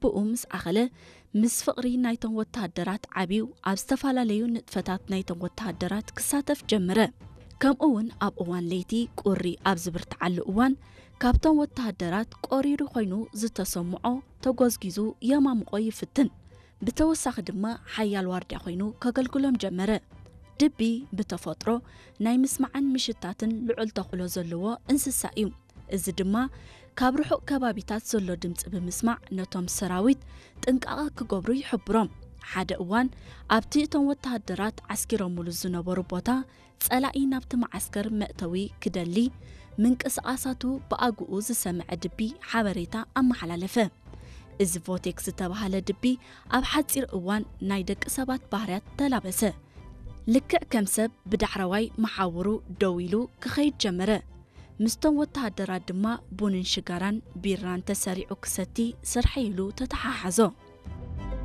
ብኡ ምስ ዓኸለ፣ ምስ ፍቕሪ ናይቶም ወተሃደራት ዓብዩ ኣብ ዝተፈላለዩ ንጥፈታት ናይቶም ወተሃደራት ክሳተፍ ጀመረ። ከምኡ እውን ኣብ እዋን ለይቲ ቁሪ ኣብ ዝብርትዓሉ እዋን፣ ካብቶም ወተሃደራት ቆሪሩ ኮይኑ ዝተሰምዖ ተጎዝጊዙ የማምቆ ይፍትን። ብተወሳኺ ድማ ሓያል ዋርድያ ኮይኑ ከገልግሎም ጀመረ። ድቢ ብተፈጥሮ ናይ ምስማዕን ምሽታትን ልዑል ተኽእሎ ዘለዎ እንስሳ እዩ። እዚ ድማ ካብ ርሑቕ ከባቢታት ዘሎ ድምፂ ብምስማዕ ነቶም ሰራዊት ጥንቃቐ ክገብሩ ይሕብሮም። ሓደ እዋን ኣብቲ እቶም ወተሃደራት ዓስኪሮምሉ ዝነበሩ ቦታ ጸላኢ ናብቲ መዓስከር መእተዊ ክደሊ ምንቅስቓሳቱ ብኣግኡ ዝሰምዐ ድቢ ሓበሬታ ኣመሓላለፈ። እዚ ቮቴክ ዝተባህለ ድቢ ኣብ ሓጺር እዋን ናይ ደቂ ሰባት ባህርያት ተላበሰ። ልክዕ ከም ሰብ ብዳሕረዋይ መሓውሩ ደው ኢሉ ክኸይድ ጀመረ። ምስቶም ወተሃደራት ድማ ቡንን ሽጋራን ቢራን ተሰሪዑ ክሰቲ ስርሐይ ኢሉ ተተሓሓዞ።